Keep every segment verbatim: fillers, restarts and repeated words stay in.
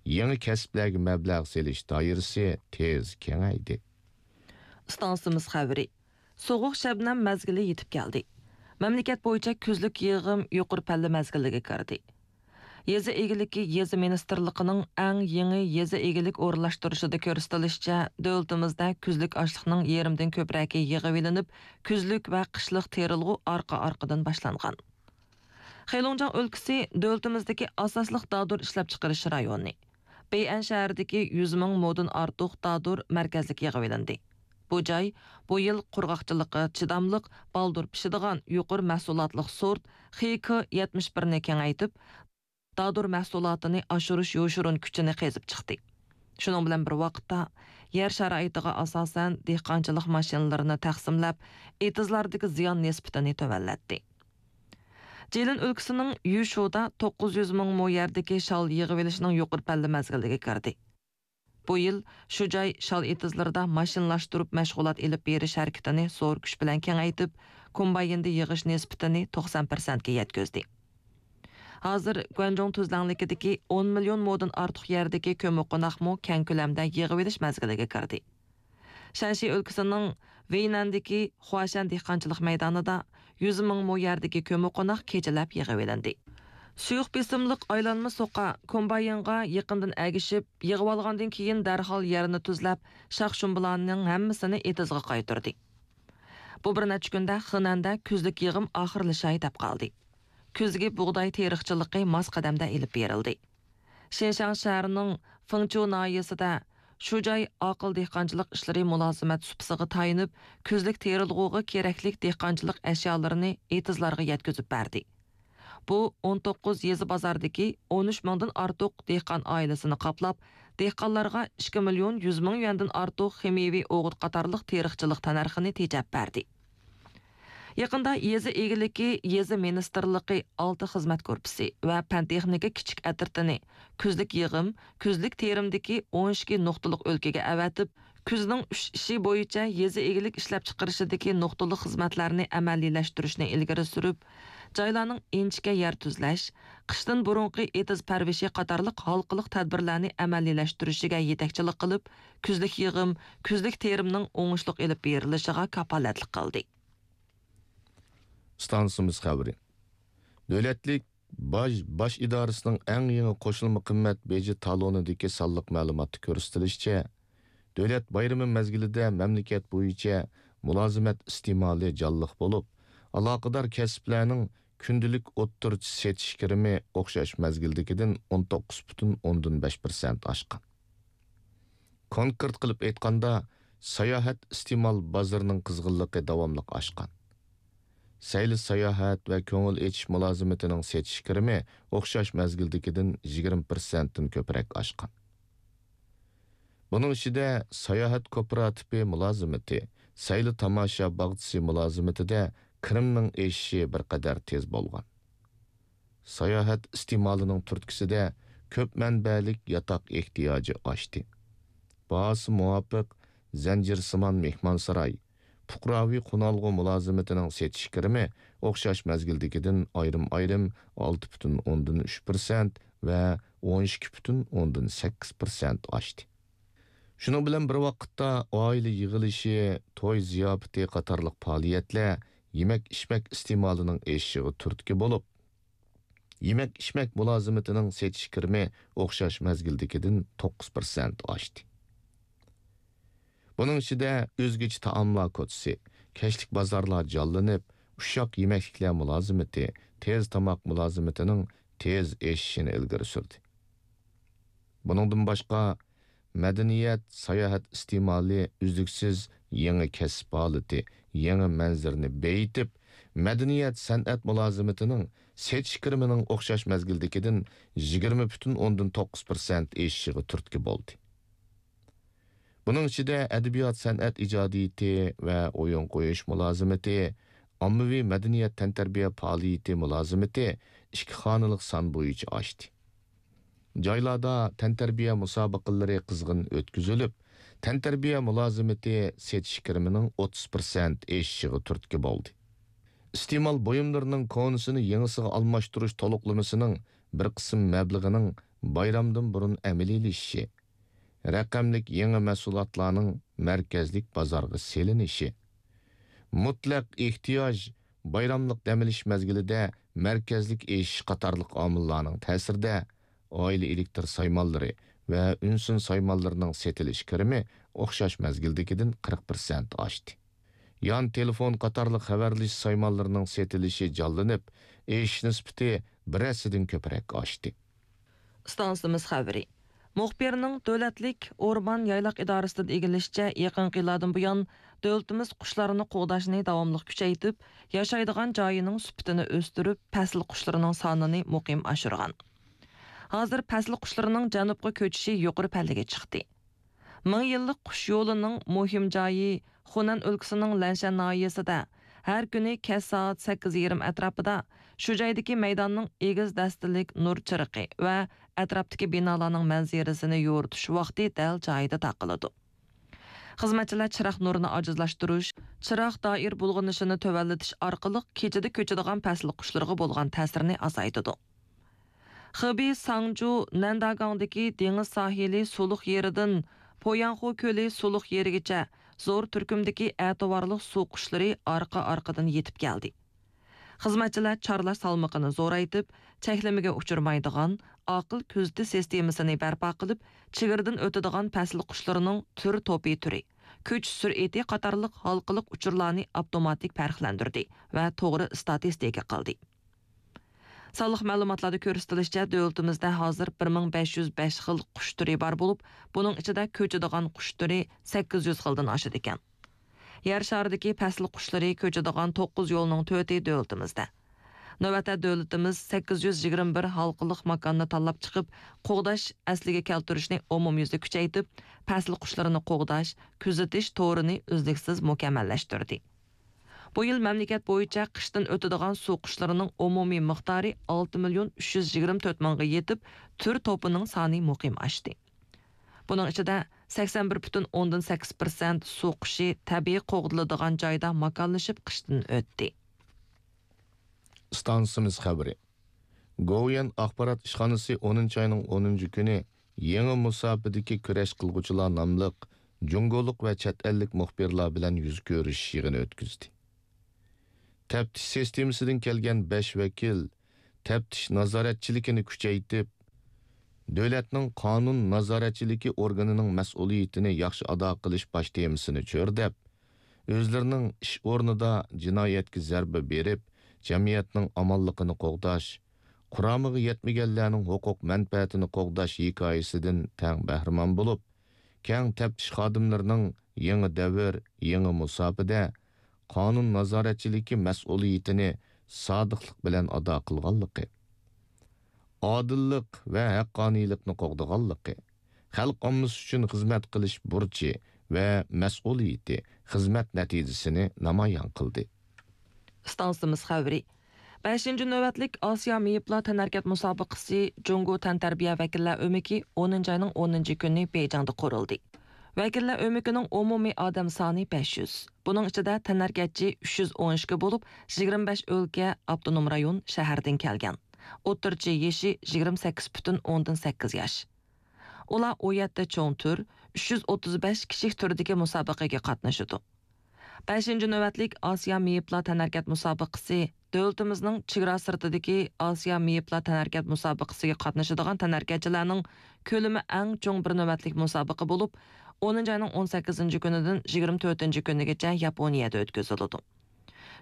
يېڭى كەسىپلەرگە مەبلەغ سېلىش دائىرىسى تېز كېڭەيدى. ئىستانسىمىز خەۋىرى. سوغۇق شەبنەم مەزگىلى يېتىپ كەلدى. مەملىكەت بويىچە كۈزلۈك يىغىم يۇقىرى پەللە مەزگىلىگە كىردى. يېزا ئىگىلىكى يېزا مىنىستىرلىقىنىڭ ئەڭ يېڭى يېزا ئىگىلىك ئورۇنلاشتۇرۇشىدا كۆرسىتىلىشىچە، دۆلىتىمىزدە كۈزلۈك ئاشلىقنىڭ يېرىمدىن كۆپرەكى يىغىۋېلىنىپ، كۈزلۈك ۋە قىشلىق تېرىلغۇ ئارقا-ئارقىدىن باشلانغان. خېلۇڭجياڭ ئۆلكىسى دۆلىتىمىزدىكى ئاساسلىق دادۇر ئىشلەپچىقىرىش رايونى. بېيئەن شەھىرىدىكى يۈز مىڭ مودىن ئارتۇق دادۇر مەركەزلىك يىغىۋېلىندى. بۇ جاي بۇ يىل قۇرغاقچىلىققا چىداملىق، بالدۇر پىشىدىغان، يۇقىرى مەھسۇلاتلىق سورت خې كې يەتمىش بىرنى كېڭەيتىپ، دادۇر مەھسۇلاتىنى ئاشۇرۇش يوشۇرۇن كۈچىنى قېزىپ چىقتى. شۇنىڭ بىلەن بىر ۋاقىتتا، يەر شارائىتىغا ئاساسەن، دېھقانچىلىق ماشىنىلىرىنى تەقسىملەپ، ئېتىزلاردىكى زىيان نىسبىتىنى تۆۋەنلەتتى. جىلىن ئۆلكىسىنىڭ يۈشۇدا توققۇز يۈز مىڭ مو يەردىكى شال يىغىۋېلىشنىڭ يۇقىرى پەللە مەزگىلىگە كىردى. بۇ يىل شۇ جاي شال ئېتىزلىرىدا ماشىنىلاشتۇرۇپ مەشغۇلات ئېلىپ بېرىش ھەرىكىتىنى زور كۈچ بىلەن كېڭەيتىپ، كومبايندا يىغىش نىسبىتىنى توقسان پىرسەنتكە يەتكۈزدى. ھازىر گۇەنجۇڭ تۈزلەڭلىكىدىكى ئون مىليون مودىن ئارتۇق يەردىكى كۆممىقوناقمۇ كەڭ كۆلەمدە يىغىۋېلىش مەزگىلىگە كىردى. شەنشى ئۆلكىسىنىڭ ۋېينەندىكى خۇاشەن دېھقانچىلىق مەيدانىدا يۈز مىڭ مو يەردىكى كۆممىقوناق كېچىلەپ يىغىۋېلىندى. سۇيۇق بېسىملىق ئايلانما سوقا كومباينغا يېقىندىن ئەگىشىپ، يىغىۋالغاندىن كېيىن دەرھال يەرنى تۈزلەپ، شاخ-شۇمبىلارنىڭ ھەممىسىنى ئېتىزغا قايتۇردى. بۇ بىر نەچچە كۈندە خېنەندە كۈزلۈك يىغىم ئاخىرلىشاي دەپ قالدى. كۈزگى بۇغداي تېرىقچىلىقى ماس قەدەمدە ئېلىپ بېرىلدى. شىنشاڭ شەھىرىنىڭ فېڭچۇ ناھىيەسىدە شۇ جاي ئاقىل دېھقانچىلىق ئىشلىرى مۇلازىمەت سۇپىسىغا تايىنىپ، كۈزلۈك تېرىلغۇغا كېرەكلىك دېھقانچىلىق ئەشيالىرىنى ئېتىزلارغا يەتكۈزۈپ بەردى. بۇ ئون توققۇز يېزا بازاردىكى ئون ئۈچ مىڭدىن ئارتۇق دېھقان ئائىلىسىنى قاپلاپ، دېھقانلارغا ئىككى مىليون يۈز مىڭ يۈەندىن ئارتۇق خىمىيەۋى ئوغۇت قاتارلىق تېرىقچىلىق تەننەرخىنى تېجەپ بەردى. يېقىندا يېزا ئىگىلىكى، يېزا مىنىستىرلىقى ئالتە خىزمەت گۇرۇپپىسى ۋە پەن-تېخنىكا كىچىك ئەترىتىنى كۈزلۈك يىغىم، كۈزلۈك تېرىمدىكى ئون ئىككى نۇقتىلىق ئۆلكىگە ئەۋەتىپ، كۈزنىڭ ئۈچ ئىشى بويىچە يېزا ئىگىلىك ئىشلەپچىقىرىشىدىكى نۇقتىلىق خىزمەتلەرنى ئەمەلىيلەشتۈرۈشنى ئىلگىرى سۈرۈپ، جايلارنىڭ ئىنچىكە يەر تۈزلەش، قىشتىن بۇرۇنقى ئېتىز پەرۋىشى قاتارلىق ھالقىلىق تەدبىرلەرنى ئەمەلىيلەشتۈرۈشىگە يېتەكچىلىك قىلىپ، كۈزلۈك يىغىم، كۈزلۈك تېرىمنىڭ ئوڭۇشلۇق ئېلىپ بېرىلىشىغا كاپالەتلىك قىلدى. ئىستانسىمىز خەۋىرى. دۆلەتلىك باج باش ئىدارىسىنىڭ ئەڭ يېڭى قوشۇلما قىممەت بېجى تالونىدىكى سانلىق مەلۇماتتا كۆرسىتىلىشىچە، دۆلەت بايرىمى مەزگىلىدە مەملىكەت بويىچە مۇلازىمەت ئىستېمالى جانلىق بولۇپ، ئالاقىدار كەسىپلەرنىڭ كۈندىلىك ئوتتۇرىچە سېتىش كىرىمى ئوخشاش مەزگىلدىكىدىن ئون توققۇز پۈتۈن ئوندىن بەش پىرسەنت ئاشقان. كونكرېت قىلىپ ئېيتقاندا، ساياھەت ئىستېمال بازىرىنىڭ قىزغىنلىقى داۋاملىق ئاشقان. سەيلە ساياھەت ۋە كۆڭۈل ئېچىش مۇلازىمىتىنىڭ سېتىش كىرىمى ئوخشاش مەزگىلدىكىدىن يىگىرمە پىرسەنتتىن كۆپرەك ئاشقان. بۇنىڭ ئىچىدە ساياھەت كوپىراتىپى مۇلازىمىتى، سەيلە تاماشا باغچىسى مۇلازىمىتىدە كىرىمنىڭ ئېشىشى بىر قەدەر تېز بولغان. ساياھەت ئىستېمالىنىڭ تۈرتكىسىدە كۆپ مەنبەلىك ياتاق ئېھتىياجى ئاشتى. باھاسى مۇۋاپىق زەنجىرسىمان مېھمانساراي، پۇقراۋى قونالغۇ مۇلازىمىتىنىڭ سېتىش كىرىمى ئوخشاش مەزگىلدىكىدىن ئايرىم-ئايرىم ئالتە پۈتۈن ئوندىن ئۈچ پىرسەنت ۋە ئون ئىككى پۈتۈن ئوندىن سەككىز پىرسەنت ئاشتى. شۇنىڭ بىلەن بىر ۋاقىتتا، ئائىلە يىغىلىشى، توي زىياپىتى قاتارلىق پائالىيەتلەر يېمەك-ئىچمەك ئىستېمالىنىڭ ئېشىشىغا تۈرتكە بولۇپ، يېمەك-ئىچمەك مۇلازىمىتىنىڭ سېتىش كىرىمى ئوخشاش مەزگىلدىكىدىن توققۇز پىرسەنت ئاشتى. بۇنىڭ ئىچىدە ئۆزگىچە تائاملار كوچىسى، كەچلىك بازارلار جانلىنىپ، ئۇششاق يېمەكلىكلەر مۇلازىمىتى، تېز تاماق مۇلازىمىتىنىڭ تېز ئېشىشىنى ئىلگىرى سۈردى. بۇنىڭدىن باشقا، مەدەنىيەت، ساياھەت ئىستېمالى ئۈزلۈكسىز يېڭى كەسىپ ھالىتى، يېڭى مەنزىرىنى بېيىتىپ، مەدەنىيەت، سەنئەت مۇلازىمىتىنىڭ سېتىش كىرىمىنىڭ ئوخشاش مەزگىلدىكىدىن يىگىرمە پۈتۈن ئوندىن توققۇز پىرسەنت ئېشىشىغا تۈرتكە بولدى. بۇنىڭ ئىچىدە ئەدەبىيات، سەنئەت ئىجادىيىتى ۋە ئويۇن قويۇش مۇلازىمىتى، ئاممىۋى مەدەنىيەت، تەنتەربىيە پائالىيىتى مۇلازىمىتى ئىككى خانىلىق سان بويىچە ئاشتى. جايلاردا تەنتەربىيە مۇسابىقىلىرى قىزغىن ئۆتكۈزۈلۈپ، تەنتەربىيە مۇلازىمىتى سېتىش كىرىمىنىڭ ئوتتۇز پىرسەنت ئېشىشىغا تۈرتكە بولدى. ئىستېمال بۇيۇملىرىنىڭ كونىسىنى يېڭىسىغا ئالماشتۇرۇش تولۇقلىمىسىنىڭ بىر قىسىم مەبلىغىنىڭ بايرامدىن بۇرۇن ئەمەلىيلىشىشى، رەقەملىك يېڭى مەھسۇلاتلارنىڭ مەركەزلىك بازارغا سېلىنىشى، مۇتلەق ئېھتىياج بايراملىق دەم ئېلىش مەزگىلىدە مەركەزلىك ئېشىش قاتارلىق ئامىللارنىڭ تەسىرىدە، ئائىلە ئېلېكتر سايمانلىرى ۋە ئۈنسىن سايمانلىرىنىڭ سېتىلىش كىرىمى ئوخشاش مەزگىلدىكىدىن قىرىق پىرسەنت ئاشتى. يان تېلېفون قاتارلىق خەۋەرلىشىش سايمانلىرىنىڭ سېتىلىشى جانلىنىپ، ئېشىش نىسبىتى بىر ھەسسىدىن كۆپرەك ئاشتى. ئىستانسىمىز خەۋىرى. مۇخبىرنىڭ دۆلەتلىك ئورمان يايلاق ئىدارىسىدىن ئىگىلىشىچە، يېقىنقى يىللاردىن بۇيان، دۆلىتىمىز قۇشلارنى قوغداشنى داۋاملىق كۈچەيتىپ، ياشايدىغان جايىنىڭ سۈپىتىنى ئۆستۈرۈپ، پەسىل قۇشلىرىنىڭ سانىنى مۇقىم ئاشۇرغان. ھازىر پەسىل قۇشلىرىنىڭ جەنۇبقا كۆچۈشى يۇقىرى پەللىگە چىقتى. مىڭ يىللىق قۇش يولىنىڭ مۇھىم جايى خۇنەن ئۆلكىسىنىڭ لەنشەن ناھىيەسىدە ھەر كۈنى كەچ سائەت سەككىز يېرىم ئەتراپىدا شۇ جايدىكى مەيداننىڭ ئېگىز دەستىلىك نۇر چىرىقى ۋە ئەتراپتىكى بىنالارنىڭ مەنزىرىسىنى يورۇتۇش ۋاقتى دەل جايىدا تاقىلىدۇ. خىزمەتچىلەر چىراغ نۇرىنى ئاجىزلاشتۇرۇش، چىراغ دائىر بۇلغىنىشىنى تۆۋەنلىتىش ئارقىلىق كېچىدە كۆچىدىغان پەسىل قۇشلىرىغا بولغان تەسىرنى ئازايتىدۇ. خېبېي ساڭجۇ نەنداگاڭدىكى دېڭىز ساھىلى سۇلۇق يېرىدىن پوياڭخۇ كۆلى سۇلۇق يېرىگىچە زور تۈركۈمدىكى ئەتىۋارلىق سۇ قۇشلىرى ئارقا-ئارقىدىن يېتىپ كەلدى. خىزمەتچىلەر چارلاش سالمىقىنى زورايتىپ، چەكلىمىگە ئۇچرىمايدىغان، ئاقىل كۆزىتىش سىستېمىسىنى بەرپا قىلىپ، چېگرىدىن ئۆتىدىغان پەسىل قۇشلىرىنىڭ تۈر توپى تۈرى، كۆچۈش سۈرئىتى قاتارلىق ھالقىلىق ئۇچۇرلارنى ئاپتوماتىك پەرقلەندۈردى ۋە توغرا ئىستاتىستىكا قىلدى. سانلىق مەلۇماتلاردا كۆرسىتىلىشىچە، دۆلىتىمىزدە ھازىر بىر مىڭ بەش يۈز بەش خىل قۇش تۈرى بار بولۇپ، بۇنىڭ ئىچىدە كۆچىدىغان قۇش تۈرى سەككىز يۈز خىلدىن ئاشىدىكەن. يەر شارىدىكى پەسىل قۇشلىرى كۆچىدىغان توققۇز يولنىڭ تۆتى دۆلىتىمىزدە. نۆۋەتتە دۆلىتىمىز سەككىز يۈز يىگىرمە بىر ھالقىلىق ماكاننى تاللاپ چىقىپ، قوغداش، ئەسلىگە كەلتۈرۈشنى ئومۇميۈزلۈك كۈچەيتىپ، پەسىل قۇشلىرىنى قوغداش، كۆزىتىش تورىنى ئۈزلۈكسىز مۇكەممەللەشتۈردى. بۇ يىل مەملىكەت بويىچە قىشتىن ئۆتىدىغان سۇ قۇشلىرىنىڭ ئومۇمىي مىقدارى ئالتە مىليون ئۈچ يۈز يىگىرمە تۆت مىڭغا يېتىپ، تۈر توپىنىڭ سانى مۇقىم ئاشتى. بۇنىڭ ئىچىدە سەكسەن بىر پۈتۈن ئوندىن سەككىز پىرسەنت سۇ قۇشى تەبىئىي قوغدىلىدىغان جايدا ماكانلىشىپ قىشتىن ئۆتتى. ئىستانسىمىز خەۋىرى. گوۋۇيۈەن ئاخبارات ئىشخانىسى ئونىنچى ئاينىڭ ئونىنچى كۈنى يېڭى مۇساپىدىكى كۈرەش قىلغۇچىلار ناملىق جۇڭگولۇق ۋە چەت ئەللىك مۇخبىرلار بىلەن يۈز كۆرۈشۈش يىغىنى ئۆتكۈزدى. تەپتىش سىستېمىسىدىن كەلگەن بەش ۋەكىل تەپتىش نازارەتچىلىكىنى كۈچەيتىپ، دۆلەتنىڭ قانۇن نازارەتچىلىكى ئورگىنىنىڭ مەسئۇلىيىتىنى ياخشى ئادا قىلىش باش تېمىسىنى چۆرىدەپ، ئۆزلىرىنىڭ ئىش ئورنىدا جىنايەتكە زەربە بېرىپ، جەمئىيەتنىڭ ئامانلىقىنى قوغداش، قۇرامىغا يەتمىگەنلەرنىڭ ھوقۇق مەنپەئەتىنى قوغداش ھېكايىسىدىن تەڭ بەھرىمەن بولۇپ، كەڭ تەپتىش خادىملىرىنىڭ يېڭى دەۋر، يېڭى مۇساپىدە قانۇن نازارەتچىلىكى مەسئۇلىيىتىنى سادىقلىق بىلەن ئادا قىلغانلىقى، ئادىللىق ۋە ھەققانىيلىقنى قوغدىغانلىقى، خەلق ئاممىسى ئۈچۈن خىزمەت قىلىش بۇرچى ۋە مەسئۇلىيىتى خىزمەت نەتىجىسىنى نامايان قىلدى. ئىستانسىمىز خەۋىرى. بەشىنچى نۆۋەتلىك ئاسىيا مېيىپلار تەنھەرىكەت مۇسابىقىسى جۇڭگو تەنتەربىيە ۋەكىللەر ئۆمىكى ئونىنچى ئاينىڭ ئونىنچى كۈنى بېيجىڭدا قۇرۇلدى. ۋەكىللەر ئۆمىكىنىڭ ئومۇمىي ئادەم سانى بەش يۈز. بۇنىڭ ئىچىدە تەنھەرىكەتچى ئۈچ يۈز ئون ئىككى بولۇپ، يىگىرمە بەش ئۆلكە، ئاپتونوم رايون، شەھەردىن كەلگەن. ئوتتۇرىچە يېشى يىگىرمە سەككىز پۈتۈن ئوندىن سەككىز ياش. ئۇلار ئون يەتتە چوڭ تۈر، ئۈچ يۈز ئوتتۇز بەش كىچىك تۈردىكى مۇسابىقىگە قاتنىشىدۇ. بەشىنچى نۆۋەتلىك ئاسىيا مېيىپلار تەنھەرىكەت مۇسابىقىسى دۆلىتىمىزنىڭ چېگرا سىرتىدىكى ئاسىيا مېيىپلار تەنھەرىكەت مۇسابىقىسىگە قاتنىشىدىغان تەنھەرىكەتچىلەرنىڭ كۆلىمى ئەڭ چوڭ بىر نۆۋەتلىك مۇسابىقە بولۇپ، ئونىنچى ئاينىڭ ئون سەككىزىنچى كۈنىدىن يىگىرمە تۆتىنچى كۈنىگىچە ياپونىيەدە ئۆتكۈزۈلىدۇ.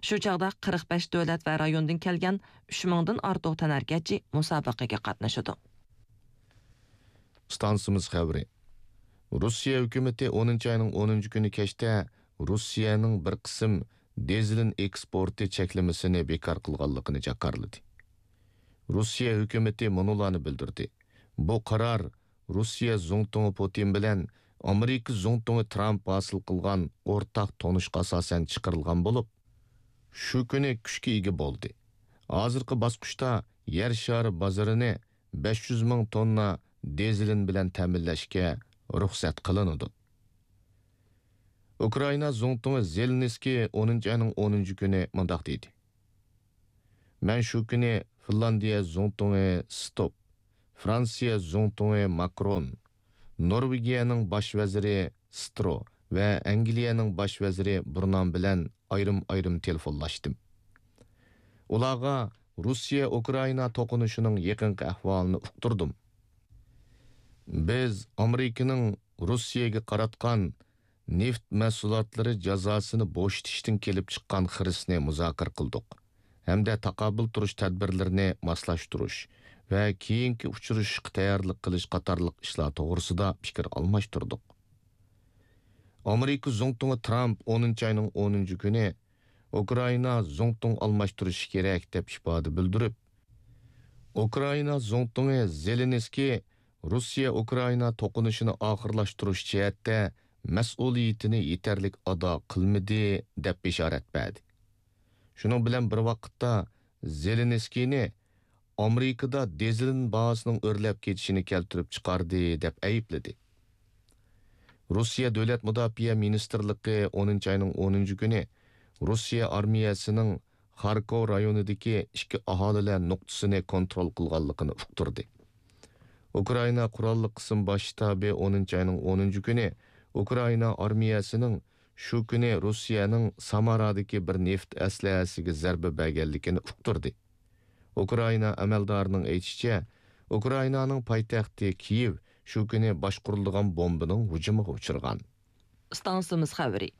شۇ چاغدا قىرىق بەش دۆلەت ۋە رايوندىن كەلگەن ئۈچ مىڭدىن ئارتۇق تەنھەرىكەتچى مۇسابىقىگە قاتنىشىدۇ. ئىستانسىمىز خەۋىرى. روسىيە ھۆكۈمىتى ئونىنچى ئاينىڭ ئونىنچى كۈنى كەچتە روسىيەنىڭ بىر قىسىم دىزېلىن ئېكسپورتى چەكلىمىسىنى بىكار قىلغانلىقىنى جاكارلىدى. روسىيە ھۆكۈمىتى مۇنۇلارنى بىلدۈردى: بۇ قارار روسىيە زۇڭتۇڭى پۇتىن بىلەن ئامېرىكا زۇڭتۇڭى ترامپ ھاسىل قىلغان ئورتاق تونۇشقا ئاساسەن چىقىرىلغان بولۇپ، شۇ كۈنى كۈچكە ئىگە بولدى. ھازىرقى باسقۇچتا يەر شارى بازىرىنى بەش يۈز مىڭ توننا دىزېلىن بىلەن تەمىنلەشكە رۇخسەت قىلىنىدۇ. ئۇكرائىنا زۇڭتۇڭى زېلېنسكىي ئونىنچى ئاينىڭ ئونىنچى كۈنى مۇنداق دېدى: مەن شۇ كۈنى فىنلاندىيە زۇڭتۇڭى ستوپ، فرانسىيە زۇڭتۇڭى ماكرون، نورۋېگىيەنىڭ باش ۋەزىرى سترو ۋە ئەنگلىيەنىڭ باش ۋەزىرى بۇرنام بىلەن ئايرىم-ئايرىم تېلېفونلاشتىم. ئۇلارغا روسىيە-ئۇكرائىنا توقۇنۇشىنىڭ يېقىنقى ئەھۋالىنى ئۇقتۇردۇم. بىز ئامېرىكىنىڭ روسىيەگە قاراتقان نېفىت مەھسۇلاتلىرى جازاسىنى بوشىتىشتىن كېلىپ چىققان خىرىسنى مۇزاكىرە قىلدۇق ھەمدە تاقابىل تۇرۇش تەدبىرلىرىنى ماسلاشتۇرۇش ۋە كېيىنكى ئۇچرىشىشقا تەييارلىق قىلىش قاتارلىق ئىشلار توغرىسىدا پىكىر ئالماشتۇردۇق. ئامېرىكا زۇڭتۇڭى ترامپ ئونىنچى ئاينىڭ ئونىنچى كۈنى ئۇكرائىنا زۇڭتۇڭ ئالماشتۇرۇشى كېرەك دەپ ئىپادە بىلدۈرۈپ، ئۇكرائىنا زۇڭتۇڭى زېلېنسكىي روسىيە-ئۇكرائىنا توقۇنۇشىنى ئاخىرلاشتۇرۇش جەھەتتە مەسئۇلىيىتىنى يېتەرلىك ئادا قىلمىدى، دەپ بېشارەت بەردى. شۇنىڭ بىلەن بىر ۋاقىتتا، زېلېنسكىينى ئامېرىكىدا دىزېلىن باھاسىنىڭ ئۆرلەپ كېتىشىنى كەلتۈرۈپ چىقاردى، دەپ ئەيىبلىدى. روسىيە دۆلەت مۇداپىئە مىنىستىرلىقى ئونىنچى ئاينىڭ ئونىنچى كۈنى روسىيە ئارمىيەسىنىڭ خاركوۋ رايونىدىكى ئىككى ئاھالىلەر نۇقتىسىنى كونترول قىلغانلىقىنى ئۇقتۇردى. ئۇكرائىنا قوراللىق قىسىم باش شتابى ئونىنچى ئاينىڭ ئونىنچى كۈنى ئۇكرائىنا ئارمىيەسىنىڭ شۇ كۈنى روسىيەنىڭ سامارادىكى بىر نېفىت ئەسلىھەسىگە زەربە بەرگەنلىكىنى ئۇقتۇردى. ئۇكرائىنا ئەمەلدارىنىڭ ئېيتىشىچە، ئۇكرائىنانىڭ پايتەختى كىيېۋ شۇ كۈنى باشقۇرۇلىدىغان بومبىنىڭ ھۇجۇمىغا ئۇچرىغان. ئىستانسىمىز خەۋىرى.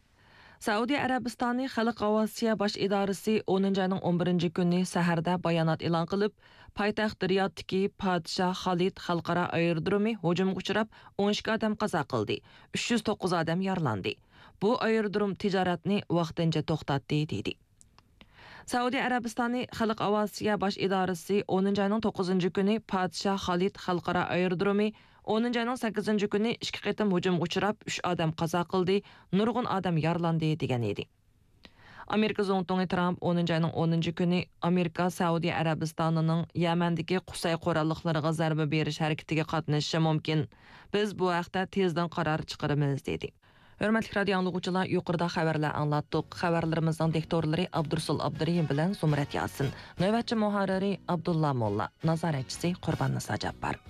سەئۇدى ئەرەبىستانى خەلق ئاۋىئاتسىيە باش ئىدارىسى ئونىنچى ئاينىڭ ئون بىرىنچى كۈنى سەھەردە بايانات ئېلان قىلىپ، پايتەخت رىيادتىكى پادىشاھ خالىد خەلقئارا ئايرودرومى ھۇجۇمغا ئۇچراپ، ئون ئىككى ئادەم قازا قىلدى، ئۈچ يۈز توققۇز ئادەم يارىلاندى. بۇ ئايرودروم تىجارەتنى ۋاقتىنچە توختاتتى، دېدى. سەئۇدى ئەرەبىستانى خەلق ئاۋىئاتسىيە باش ئىدارىسى ئونىنچى ئاينىڭ توققۇزىنچى كۈنى پادىشاھ خالىد خەلقئارا ئايرودرومى ئونىنچى ئاينىڭ سەككىزىنچى كۈنى ئىككى قېتىم ھۇجۇمغا ئۇچراپ، ئۈچ ئادەم قازا قىلدى، نۇرغۇن ئادەم يارىلاندى، دېگەن ئىدى. ئامېرىكا زۇڭتۇڭى ترامپ ئونىنچى ئاينىڭ ئونىنچى كۈنى ئامېرىكا سەئۇدى ئەرەبىستانىنىڭ يەمەندىكى قۇسەي قوراللىقلىرىغا زەربە بېرىش ھەرىكىتىگە قاتنىشىشى مۇمكىن. بىز بۇ ھەقتە تېزدىن قارار چىقىرىمىز، دېدى. ھۆرمەتلىك رادىيو ئاڭلىغۇچىلار، يۇقىرىدا خەۋەرلەر ئاڭلاتتۇق. خەۋەرلىرىمىزنىڭ دىكتورلىرى ئابدۇرسۇل ئابدۇرېھىم بىلەن زۇمرەت ياسىن. نۆۋەتچى مۇھەررىرى ئابدۇللا موللا. نازارەتچىسى قۇرباننىسا جاپپار.